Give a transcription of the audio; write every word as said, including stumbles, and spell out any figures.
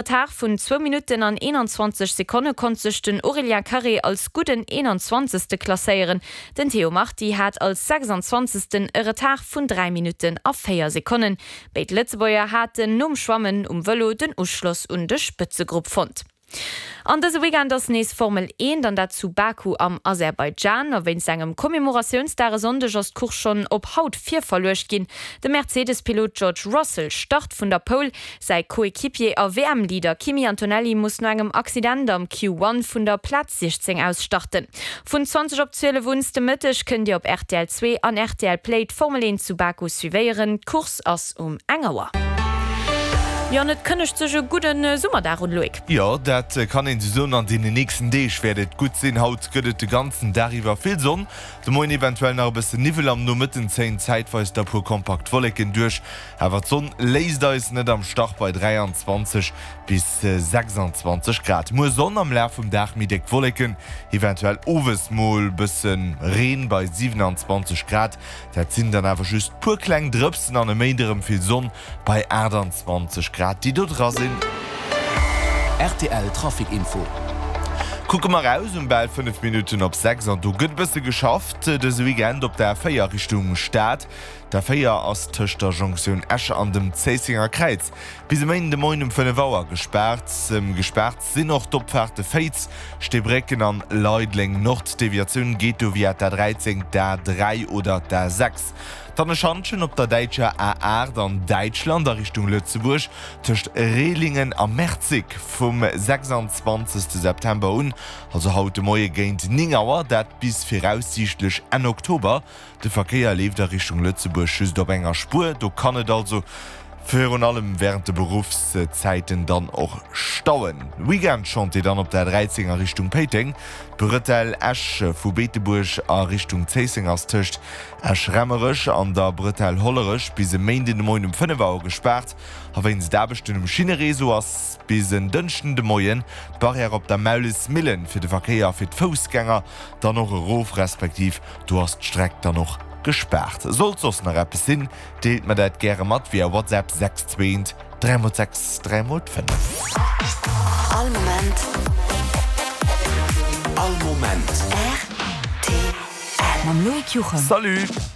Retard vun zwou Minutten an eenanzwanzeg Sekonne konnt sech den Aurélien Carré als gudden eenanzwanzegste klasséieren. Den Théo Marti hat als sechsanzwanzegsten e Retard vun dräi Minutten a véier Sekonnen. Béid Lëtzebuerger haten nom Schwammen um Vëlo den Uschloss un de Spëtzegrupp fonnt. An dëse Weekend ass nees Formel eent, an dat zu Baku am Aserbaidschan. A wéinst engem Commemoratiounsdag e Sonndeg ass d'Course schonn op haut virverluecht ginn. De Mercedes-Pilot George Russell start vun der Pole, säi Coequipier a W M-Leader Kimi Antonelli muss no engem Accident am Q One vun der Plaz siechzéng aus starten. Vun zwanzeg op zwielef un de Mëtteg kënnt Dir op R T L zwee an R T L Play d'Formel eent zu Baku suivéieren. D'Course ass um eng Auer. Jo, an et kënnegt sech e gudden Summerdag un, Loïc. Jo, dat kann een esou soen. An deenen nächsten Deeg wäert et gutt sinn. Haut gëtt et de ganzen Dag iwwer vill Sonn, de Moien eventuell nach e bëssen Niwwel, am Nomëtten zéien zäitweis da puer kompakt Wolleken duerch. Awer d'Sonn léisst eis net am Stach bei dräianzwanzeg bis sechsanzwanzeg Grad. Muer Sonn, am Laf vum Dag méi déck Wolleken, eventuell owes mol bësse Reen bei siewenanzwanzeg Grad. Dat sinn dann awer just puer kleng Drëpsen an e Méinde rëm vill Sonn bei aachtanzwanzeg Grad, déi do dra sinn. R T L Trafic Info. Kucke mer raus um bal fënnef Minutten op sechs an do gëtt e bësse geschafft dëse Weekend op der A véier Richtung Stad. D'A véier ass tëscht der Jonktioun Esch an dem Zéissenger Kräiz bis e Méinden de Moien um fënnef Auer gespaart. Gespaart sinn och d'Opfaarte Féiz, Steebrécken an Leideleng Nord. D'Deviatioun geet do via d'A dräizéng, d'A dräi oder d'A sechs. Dann e Schantjen op der däitscher A aacht an Däitschland a Richtung Lëtzebuerg tëscht Rehlingen a Merzig vum sechsanzwanzegste September un, also haut de Moie géint néng Auer, dat bis viraussiichtlech Enn Oktober. De Verkéier leeft a Richtung Lëtzebuerg just op enger Spuer, do kann et also virun allem wärend de Beruffszäiten dann och stauen. Weekend-Chantier dann op der dräizéng a Richtung Péiteng. D'Bretelle Esch vu Beetebuerg a Richtung Zéisseng ass tëscht Esch-Raemerech an der Bretelle Hollerech bis e Méinden de Moien um fënnef Auer gespaart. A wéinst Aarbechten um Schinnereseau ass bis en Dënschden de Moien d'Barrière op der Maulesmillen fir de Verkéier a fir d'Foussgänger dann och erof, respektiv do ass d'Streck dann och gespaart. Sollt soss nach eppes sinn, deelt mer dat gäre mat via WhatsApp sechs zwee eent dräi mol sechs dräi mol fënnef. All Moment. All Moment. R T L. Mam Loïc Juchem. Salut!